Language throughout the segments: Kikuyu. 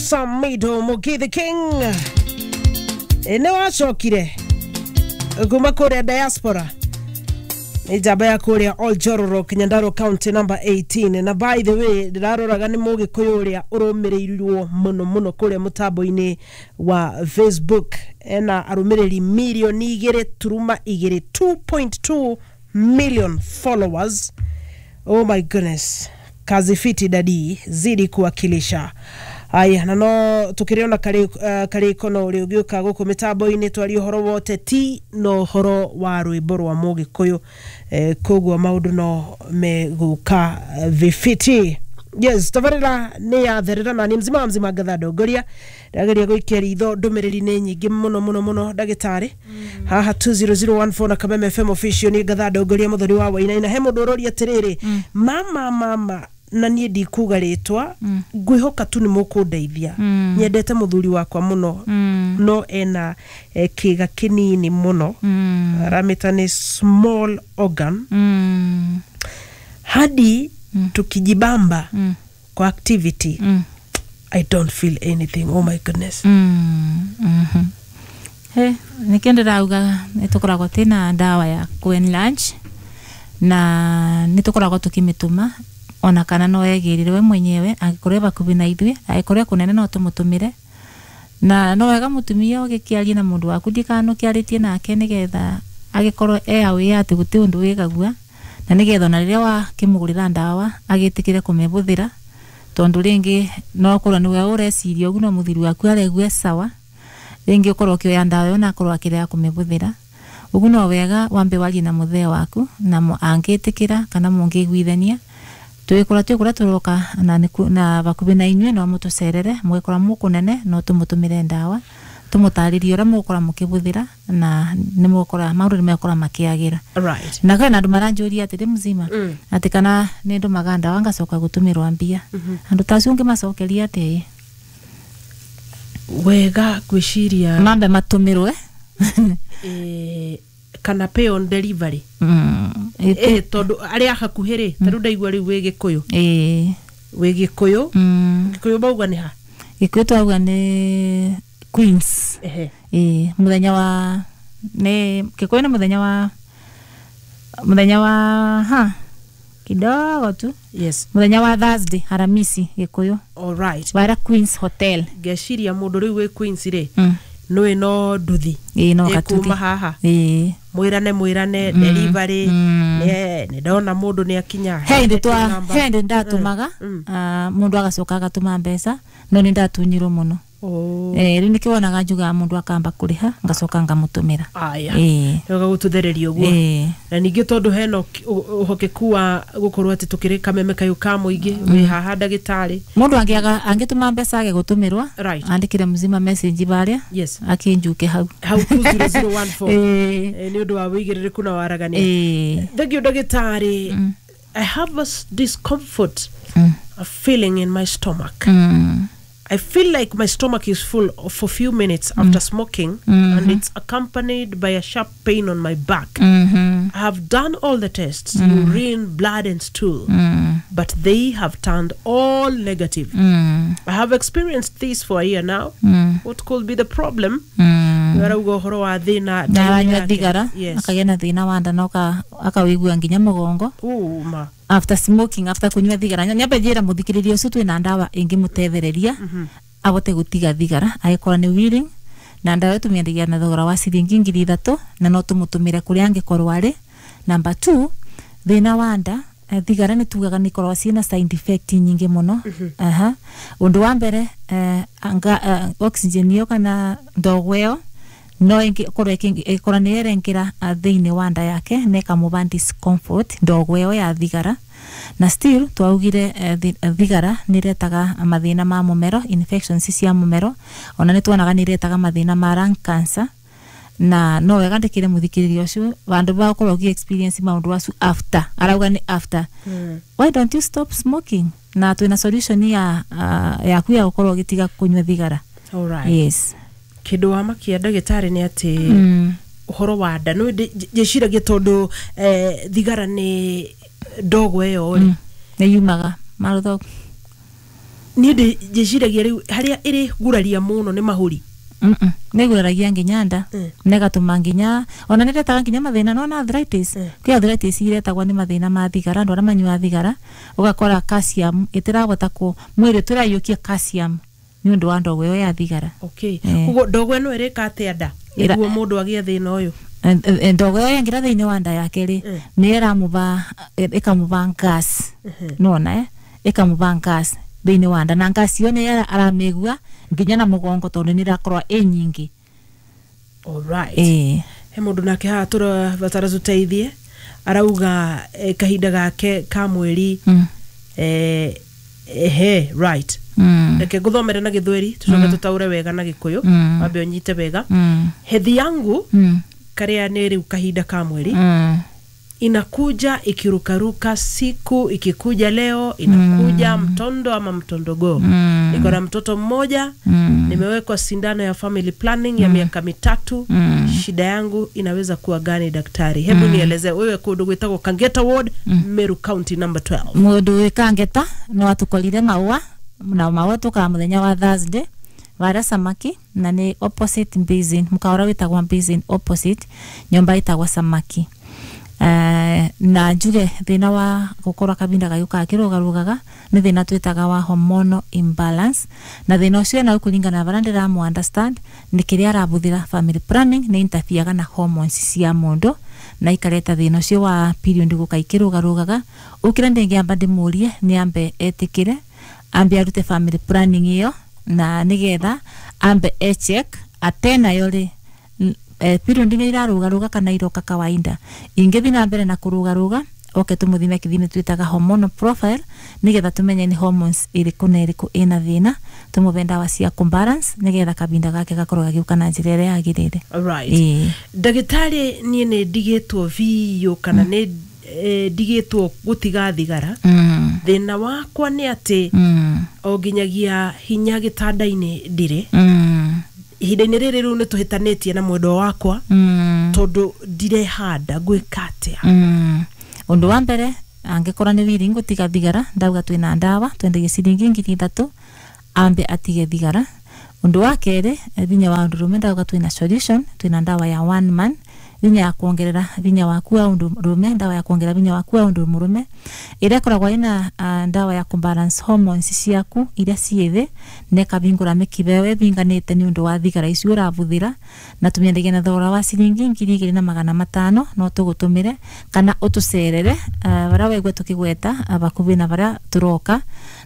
Samido Mugithi King nĩ wacokire kuma kũrĩa diaspora, nĩ njamba ya kũrĩa Oljororo, Nyandarua County number 18. Na by the way, ndĩraroraga nĩ mũgĩkũyũ ũrĩa ũrũmĩrĩirwo mũno mũno kũrĩa mũtambo-inĩ wa Facebook, ena arũmĩrĩri 2.2 mirioni, 2.2 million followers. Oh my goodness, kazi fiti dadi, zidi kuwakilisha. Aya, na no tukiriona kariko no uri ugiuka guku mitambo-inĩ twarie ũhoro wote ti no ũhoro wa rwĩmbo rwa mũgĩkũyũ, koguo maũndũ no megũka vifiti. Yes, tabarĩra nĩ yatherera na nĩ mzima wa mzima ngatha ndongoria ndageria gũikia ritho, ndũmĩrĩri nĩ nyingĩ mũno mũno mũno ndagĩtarĩ haha 20014 na Kameme FM official. Nĩ ngatha ndongoria mũthoni wa Wainaina, he mũndũ ũroria atĩrĩrĩ, mama mama, na niĩ ndikuga rĩtwa, ngwĩhoka tu nĩ mũkũndeithia. Nyendete mũthuri wakwa mũno, no ena kĩga kĩnini mũno, aramĩta nĩ small organ, hadi tukijibamba kwa activity I don't feel anything. Oh my goodness. He nikio ndĩrauga nĩ tũkoragwo twĩna ndawa ya kũ enlarge na nĩ tũkoragwo tũkĩmĩtũma, ona kana no egĩrĩre we mwenyewe angĩkorwo e hakuhĩ na ithuĩ, angĩkorwo e kũnene no tũmũtũmĩre. Na no wega mũtumia ũgĩkĩaria na mũndũ waku, ndikanũkĩarĩtie nake nĩgetha agĩkorwo e aware atĩ gũtĩ ũndũ wĩgagua, na nĩgetha ona rĩrĩa wakĩmũgũrĩra ndawa agĩtĩkĩre kũmĩhũthĩra, tondũ rĩngĩ no ũkorwo nĩwe ũreciria ũguo no mũthuri waku aregua e sawa, rĩngĩ ũkorwo ũkĩoya ndawa ĩyo na akorwo akĩrega kũmĩhũthĩra. Ũguo no wega wambe warie na mũthee waku na angĩtĩkĩra kana mũngĩiguithania, twĩkũra twĩkũra tũroka na na hakuhĩ na inyuĩ, no mũtũcerere mũgĩkora mũkũnene no tũmũtũmĩre ndawa, tũmũtarĩrie ũrĩa mũgũkora mũkĩhũthĩra na nĩ mũgũkora maũndũ nĩ megũkora makĩagĩra. Na kwĩna andũ maranjũria atĩrĩ mzima, atĩ kana nĩ ndũmaga ndawa ngacoka gũtũmĩrwo mbia. Andũ ta acio ũngĩmacokeria atĩa? Wega ngwĩciria mambe matũmĩrwe. Kana pay on delivery. Tondũ arĩa hakuhĩ rĩ, ta rĩu ndaigua rĩu wĩ Gĩkũyũ, wĩ Gĩkũyũ. Gĩkũyũ mauga nĩ ha? Gĩkũyũ twauga nĩ Queens. Ĩĩ, mũthenya wa nĩ Gĩkũyũ nĩ mũthenya wa ha kidogo tu. Mũthenya wa Thursday, Haramisi, Gĩkũyũ. All right. Wara Queens Hotel. Ngeciria mũndũ rĩu wĩ Queens rĩ, nĩ no nduthi Ĩĩ, no ĩkuma gatuthi haha. Mwĩrane mwĩrane delivery, nĩ ndona mũndũ nĩ akinya. He hĩndĩ twa Namba. He hĩndĩ ndatũmaga, mũndũ agacoka agatũma mbeca, no nĩ ndatunyirwo mũno. Oh. Rĩu nĩkĩo wonaga njugaga mũndũ akamba kũrĩha ngacoka ngamũtũmĩra. Aya. Ĩĩ. Gũtũthereria ũguo. Na ningĩ tondũ hena ũhokeku wa gũkorwo atĩ tũkĩrĩ Kameme kayũ ka mũingĩ wĩ haha ndagĩtarĩ. Mũndũ angĩaga angĩtũma mbeca age gũtũmĩrwa, andĩkĩre mzima message barĩa, akĩnjuke hau. Hau 20014. Nĩ ũndũ wa wĩigĩrĩrĩku na waragania. Thank you ndagĩtarĩ. I have a discomfort, a feeling in my stomach. I feel like my stomach is full for few minutes after smoking, and it's accompanied by a sharp pain on my back. I have done all the tests, urine, blood, and stool, but they have turned all negative. I have experienced this for a year now. What could be the problem? Arauga ũhoro wa thĩna Na aranyua thigara, akagĩa na thĩna wa nda na akawĩigua nginya mũgongo Uma. after smoking, after kunyua thigara. Nyambe njĩra mũthikĩrĩria ũcio twĩna ndawa ĩngĩmũtethereria abote gũtiga thigara agĩkorwo nĩ willing, na ndawa ĩyo tũmĩendagia na thogora wa ciringi 3,000 na no tũmũtũmĩre kũrĩa angĩkorwo arĩ. Number two, thĩna wa nda, thigara nĩ tugaga nĩ ikoragwo ciĩna side effect nyingĩ mũno. Aha. Ũndũ wa mbere, anga, oxygen ĩyo kana ndogo ĩyo no ĩkorwo ĩkorwo nĩ ĩrengera thĩinĩ wa nda yake na ĩkamũba discomfort, ndogo ĩyo ya thigara. Na still twaugire thigara nĩ ĩretaga mathĩna ma mũmero, infections cia mũmero, ona nĩ tuonaga nĩ ĩretaga mathĩna ma lung cancer. Na no wega ndĩkĩre mũthikĩrĩria ũcio, vandũ va gũkorwo ũgĩ experience maũndũ acu after, arauga nĩ after, why don't you stop smoking? Na twĩna solution ya yaku ya gũkorwo ũgĩtiga kũnyua thigara. All right. Yes. Kĩndũ wa makia ndagĩtarĩ nĩ atĩ ũhoro wa nda no njĩciragia tondũ thigara nĩ ndogo ĩyo rĩ, Nĩ yumaga marũtho. Niĩ ndĩciragia rĩu harĩa ĩrĩ guraria mũno nĩ mahũri. Nĩguraragia nginya nda, negatũma nginya ona nĩretaga nginya mathĩna nona arthritis. Kwĩ arthritis iretagwo nĩ mathĩna ma thigara, andũ arĩa manyuaga thigara ũgakora calcium ĩtirahota kũ mwĩrĩ tũraiyũkia calcium nĩ ũndũ wa ndogo ĩyo ya thigara. Okay, koguo ndogo ĩno ĩrĩka atĩa nda nĩguo mũndũ agĩe thĩna ũyũ? Ndogo ĩyo yaingĩra thĩinĩ wa nda yake rĩ, nĩ ĩramũba ĩkamũba gas, nona ĩkamũba gas thĩinĩ wa nda, na gas ĩyo nĩ aramĩigua nginya na mũgongo tondũ nĩ ĩrakorwo ĩ nyingĩ. Alright. He mũndũ nake haha tũrabatara tũteithie, arauga kahinda gake ka mweri ehe right, reke nguthomere na gĩthweri tucoke tũtaũre wega na gĩkũyũ, wambe ũnyite wega. Hedhi yangu karĩa nĩ rĩu kahinda ka mweri inakuja ikirukaruka, siku ikikuja leo inakuja mtondo ama mtondogoo. Niko na mtoto mmoja, nimewekwa sindano ya family planning ya miaka 3. Shida yangu inaweza kuwa gani daktari? Hebu nieleze wewe. Kundu gwitagwo Kangeta Ward, Meru County number 12. Mundu wi Kangeta no atukorire maua na maua tukaa muthenya wa Thursday varia Samaki, na ni opposite Basin, mukaura witagwa Basin opposite nyomba itagwa Samaki. Na njuge thina wa gukorwo kabinda gayuka akirugarugaga ni thina twitaga wa hormonal imbalance, na thina ucio na kuringana na baria ndiramu understand ni kiria arabuthira family planning ni interferega na hormones cia mundu na ikareta thina ucio wa period guka ikirugarugaga. Ukira ndingiamba ndimurie ni ambe etikire ambe arute family planning iyo na nigetha ambe echeck atena yo ri period nĩ irarugaruga kana iroka kawaida. Ingĩthiĩ na mbere na kũrugaruga oke tũmũthime kĩthimi twĩtaga hormonal profile nĩgetha tũmenye nĩ hormones ĩrĩkũ na ĩrĩkũ ĩna thĩna, tũmũbe ndawa cia kũbalance nĩgetha kabinda gake gakorwo gagĩũka na njĩra ĩrĩa yagĩrĩire. Alright. Ndagĩtarĩ, niĩ nĩ ndigĩtwo biũ kana nĩ ndigĩtwo gũtiga thigara. Thĩna wakwa nĩ atĩ o nginyagia hinya gĩtanda-inĩ ndirĩ. Ihinda-inĩ rĩrĩ rĩu nĩ tũhĩtanĩtie na mwendwa wakwa tondũ ndirehanda, ngwĩka atĩa? Ũndũ wa mbere angĩkorwo nĩ willing gũtiga thigara, ndauga twĩna ndawa twendagia ciringi 3,000 ambe atige thigara. Ũndũ wa kerĩ, vinya wa ũndũrũme ndauga twĩna solution, twĩna ndawa ya one man vinya ya kuongerera vinya waku wa ũndũrũme, ndawa ya kuongerera vinya waku wa ũndũ mũrũme ĩrĩa ĩkoragwo ĩna ndawa ya kubalance hormones ciaku iria ciĩ thĩ na ĩkahingũra mĩkiha ĩyo ĩhinganĩte nĩ ũndũ wa thigara icio ũrabuthĩra, na tũmĩendagia na thogora wa ciringi 2,500. No tũgũtũmĩre kana ũtũcerere baria waigua tũkĩgweta bakuhĩ na baria tũroka,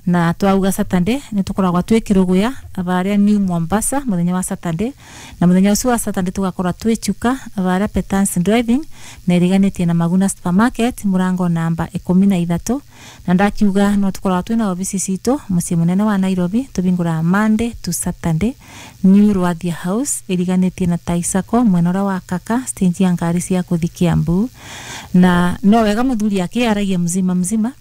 na twauga Saturday nĩ tũkoragwo twĩ Kĩrũgũya baria New Mombasa mũthenya wa Saturday, na mũthenya ũcio wa Saturday tũgakorwo twĩ Chuka baria Petance Driving na ĩriganĩtie na Maguna Supermarket mũrango namba 13. Na ndakiuga no tũkoragwo twĩna obici citũ mũciĩ mũnene wa Nairobi, tũhingũraga Monday to Saturday New Rwathia House ĩriganĩtie na Taisako mwena ũrĩa wa Kaka stage ya ngari cia kũthi Kiambu. Na no wega mũthuri akĩaragia mzima mzima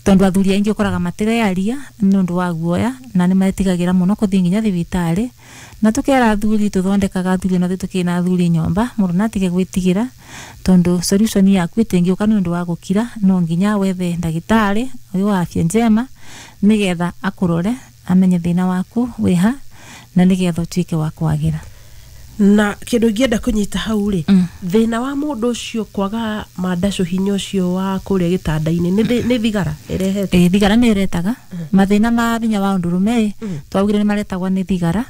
tondu athuri aingi ukoraga matirearia nĩ ũndũ wa guoya na nĩ metigagĩra mũno kũthiĩ nginya thibitarĩ, na tukera athuri tũthondekaga athuri na tũkĩna athuri nyomba mũndũ natige gwĩtigĩra tondu solution yaku ĩtingĩũka nĩ ũndũ wa gũkira, no nginya wethe ndagĩtarĩ ũyũ wa afya njema nĩgetha akũrore amenye thĩna waku wĩha na nĩgetha ũtuĩke wa kwagĩra. Na kindu ingĩenda kũnyita hau rĩ, thĩna wa mũndũ ũcio kwaga mandacũ hinya ũcio wa kũrĩa gĩtanda-inĩ nĩ thigara ĩrehete? Thigara nĩ ĩretaga mathĩna ma hinya wa ũndũrũme. Twaugire nĩ maretagwo nĩ thigara,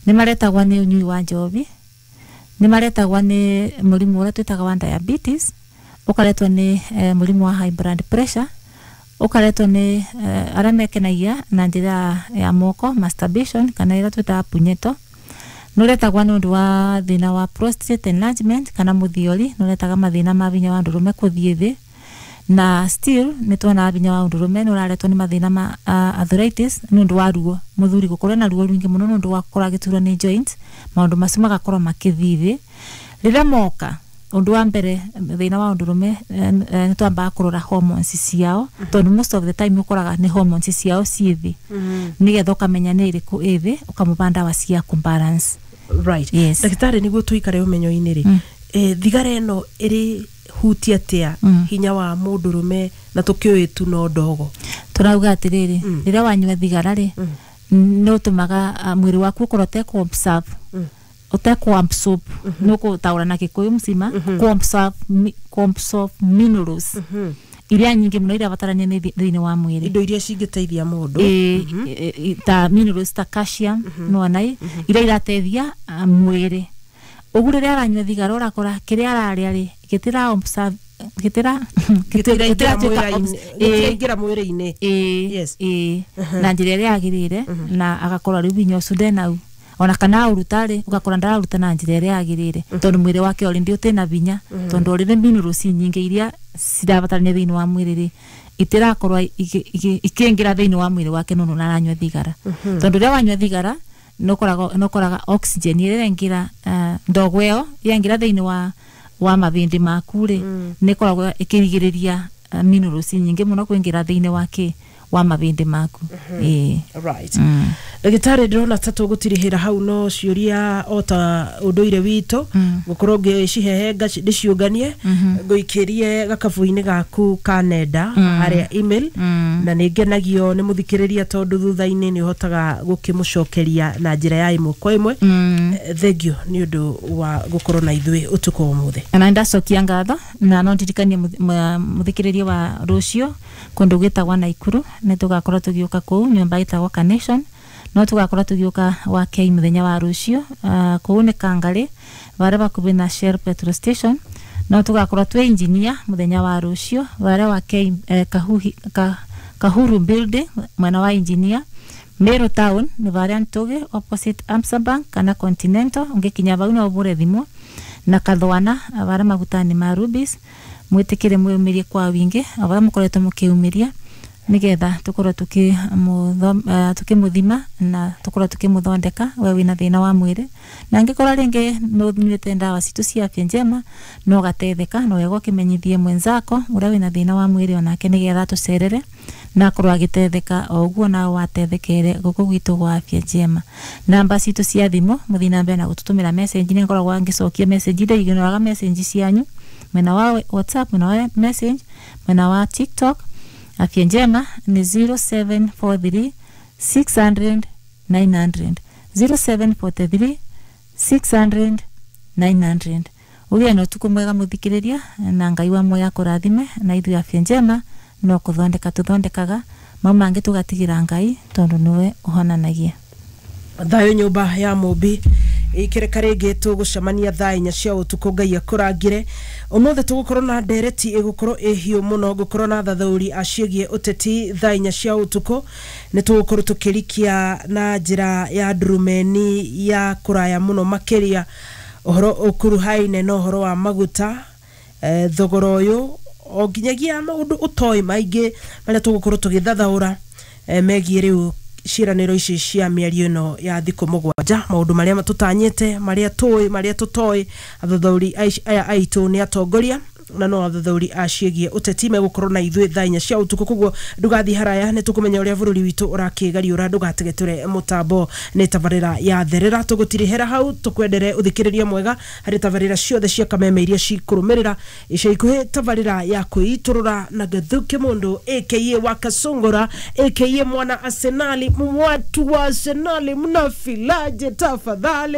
nĩ maretagwo nĩ ũnyui wa njohi, nĩ maretagwo nĩ mũrimũ ũrĩa twĩtaga wa diabetes, ũkaretwo nĩ mũrimũ wa high blood pressure, ũkaretwo nĩ arĩa mekenagia na njĩra ya moko masturbation kana ĩrĩa twĩtaga punyeto, nũretagwo nĩ ũndũ wa thĩna wa prostate enlargement kana mũthiori, nũretaga mathĩna ma hinya wa ndũrũme kũthiĩ thĩ, na still nĩ tuonaga hinya wa ndũrũme nĩ ũraretwo nĩ mathĩna ma arthritis nĩ ũndũ wa ruo, mũthuri gũkorwo na ruo rũingĩ mũno nĩ ũndũ wa gũkorwo agĩturwo nĩ joints, maũndũ macio magakorwo makĩthiĩ thĩ. Rĩrĩa moka ũndũ wa mbere thĩna wa ũndũrũme nĩ twambaga kũrora hormones ciao tondũ most of the time ũkoraga nĩ hormones ciao ciĩ thĩ, nĩgetha ũkamenya nĩ ĩrĩkũ ĩ thĩ ũkamũba ndawa cia kũbalance. Right. Yes. Ndagĩtarĩ, nĩguo tũikare ũmenyo-inĩ rĩ, Thigara ĩno ĩrĩ hutia atia hinya wa mũndũrũme na tũkĩũĩ tu no ndogo? Tũrauga atĩrĩrĩ, rĩrĩa wanyua thigara rĩ, nĩ ũtũmaga mwĩrĩ waku ũkorwo ũtekũ-absorb, ũtekũ-absorb, nĩ ũkũtaũra na Gĩkũyũ mzima, kũ-absorb minerals iria nyingĩ mũno iria batarania nĩ thĩinĩ wa mwĩrĩ, indo iria cingĩteithia mũndũ. Ta minerals ta calcium, nĩwona iria irateithia mwĩrĩ. Ũguo rĩrĩa aranyua thigara, ũrakora kĩrĩa ararĩa rĩ, gĩtira absorb, gĩtira gĩtiraingĩra gĩtiratuĩka gĩtiraingĩra mwĩrĩ-inĩ. Ĩĩ, ĩĩ, na njĩra ĩrĩa yagĩrĩire, na agakorwo rĩu hinya ũcio ndenau, ona kana aũruta rĩ, ũgakora ndararuta na njĩra ĩrĩa yagĩrĩire, tondũ mwĩrĩ wake already ũtĩna hinya, tondũ already minerals nyingĩ iria cirabatarania thĩinĩ wa mwĩrĩ rĩ, itirakorwo ikĩingĩra thĩinĩ wa mwĩrĩ wake nũndũ nĩaranyua thigara. Tondũ rĩrĩa wanyua thigara, nĩũkoraga oxygen ĩrĩa ĩraingĩra, ndogo ĩyo yaingĩra thĩinĩ wa mabĩndĩ maku rĩ, nĩ ĩkoragwo ĩkĩrigĩrĩria minerals nyingĩ mũno kũingĩra thĩinĩ wa kĩ wa mabĩndĩ maku. Ĩĩ. Right. Ndagĩtarĩ, ndĩrona ta tũgũtirihĩra hau, no ciũria o ta ũndũire witũ gũkorwo ngĩcihehenga ndĩciũnganie, ngũikĩrie gakabu-inĩ gaku ka nenda harĩa email, na nĩ ngenagio nĩ mũthikĩrĩria tondũ thutha-inĩ nĩ ũhotaga gũkĩmũcokeria na njĩra ya ĩmwe kwa ĩmwe. Thengio nĩ ũndũ wa gũkorwo na ithuĩ ũtukũ wa ũmũthĩ. Na ndacokia ngatho, na no ndirikanie mũthikĩrĩria wa rũciũ kũndũ gwĩtagwo Naikuru nĩ tũgakorwo tũgĩũka kũu nyũmba ĩtagwo Carnation. No tũgakorwo tũgĩũka wa Kei mũthenya wa rũciũ, kũu nĩ Kangarĩ varĩa bakuhĩ na Shell petrol station. No tũgakorwo twĩ engineer mũthenya wa rũciũ varĩa wa Kei, Kahuru building, mwena wa engineer. Meru town nĩ varĩa Ntũgĩ, opposite Absa Bank kana Continental, ũngĩkinya vau no ũbũre thimũ. Na Kathwana varĩa magutani ma Rubis. Mwĩtĩkĩre mwĩyumĩrie kwa wingi o varĩa mũkoretwo mũkĩyumĩria, nĩgetha tũkorwo tukĩmũthima na tũkorwo tukĩmũthondeka we wĩna thĩna wa mwĩrĩ. Na angĩkorwo rĩngĩ nĩ ũnyuĩte ndawa citũ cia Afya Njema no ũgateithĩka, no wega ũkĩmenyithie mwenzako ũrĩa wĩna thĩna wa mwĩrĩ onake, nĩgetha atũcerere na akorwo agĩteithĩka o ũguo nawe wateithĩkĩre gũkũ gwitũ gwa Afya Njema. Namba citũ cia thimũ, mũthiĩ na mbere na gũtũtũmĩra message, nĩ ngoragwo ngĩcokia message, ndaignoraga message cianyu mwena wa WhatsApp, mwena wa message, mwena wa TikTok. Afya Njema ni 0743 600 900, 0743 600 900. Ũgĩe na ũtukũ mwega mũthikĩrĩria, na Ngai wa muoyo akũrathime. Na ithuĩ Afya Njema no kũthondeka tũthondekaga, mau mangĩ tũgatigĩra Ngai, tondũ nĩwe ũhonanagia. Thayũ nyũmba ya mũmbi, ikĩreka rĩngĩ tũgũcemania thaa 4 cia ũtukũ. Ngai akũrangĩre. Ũmũthĩ tũgũkorwo na ndereti ĩgũkorwo ĩhiũ mũno, gũkorwo na thathaũri aciĩgiĩ ũteti thaa 4 cia ũtukũ. Nĩ tũgũkorwo tũkĩrikia na njĩra ya ndurumeni ya kũraya mũno makĩria ũhoro ũkuruhaine na ũhoro wa maguta, thogora ũyũ, o nginyagia maũndũ ũtoĩ maingĩ marĩa tũgũkorwo tũgĩthathaũra, megiĩ rĩu ciĩranĩro ici cia mĩario ĩno ya thikũ 7, maũndũ marĩa tũtanyĩte, marĩa tũĩ, marĩa tũtoĩ. Athathaũri aya aitũ nĩ atongoria na no athathaũri a ciĩgiĩ ũteti megũkorwo na ithuĩ thaa 4 cia ũtukũ, koguo ndũgathiĩ haraya, nĩ tũkũmenya ũrĩa bũrũri witũ ũrakĩgariũra. Ndũgategetũre mũtambo, nĩ tabarĩra ya therera. Tũgũtirihĩra hau, tũkwendere ũthikĩrĩria mwega harĩ tabarĩra ciothe cia kameme iria cikũrũmĩrĩra ica ikuhĩ. Tabarĩra ya kwĩitũrũra na Gathuki Mũndũ aka wa Kasungura aka mwana Arsenali. Watu wa Arsenali, mnafilaje tafadhali?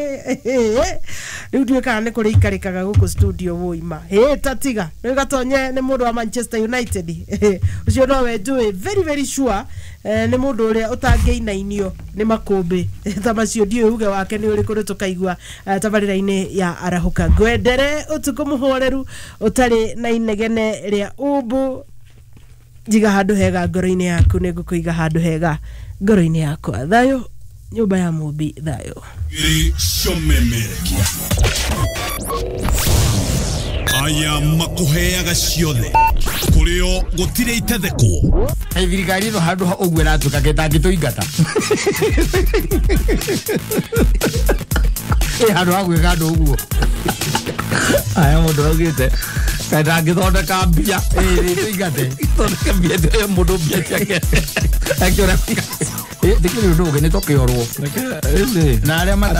Rĩu ndiũĩ kana nĩ kũrĩ ikarĩkaga gũkũ studio wũima hĩ tatiga rĩu gatonye nĩ mũndũ wa Manchester United. Ũcio nowe njũĩ very very sure, nĩ mũndũ ũrĩa ũtangĩinainio nĩ makũmbĩ ta macio. Ndiũĩ uge wake nĩ ũrĩkũ, nĩ tũkaigua tabarĩra-inĩ ya arahũka. Ngwendere ũtukũ mũhoreru ũtarĩ na inegene rĩa umbu. Njiga handũ hega ngoro-inĩ yaku, nĩ ngũkũiga handũ hega ngoro-inĩ yakwa. Thayũ nyũmba ya mũmbi, thayũ. Gĩcomemerekia aya makuheaga ciothe kũrĩo gũtirĩ itethekwo. Thirikari ĩno handũ ha ũguo ĩratuĩka ketangĩtũingata ĩ handũ ha gwĩka andũ ũguo. Aya mũndũ augĩte kaĩ ndangĩthondeka mbia. Ĩ tũingate. Thondeke mbia ĩyo mũndũ mbia ciake akĩũra. Ndĩkĩrĩ ũndũ ũngĩ nĩ tũkĩorwo na arĩa matara.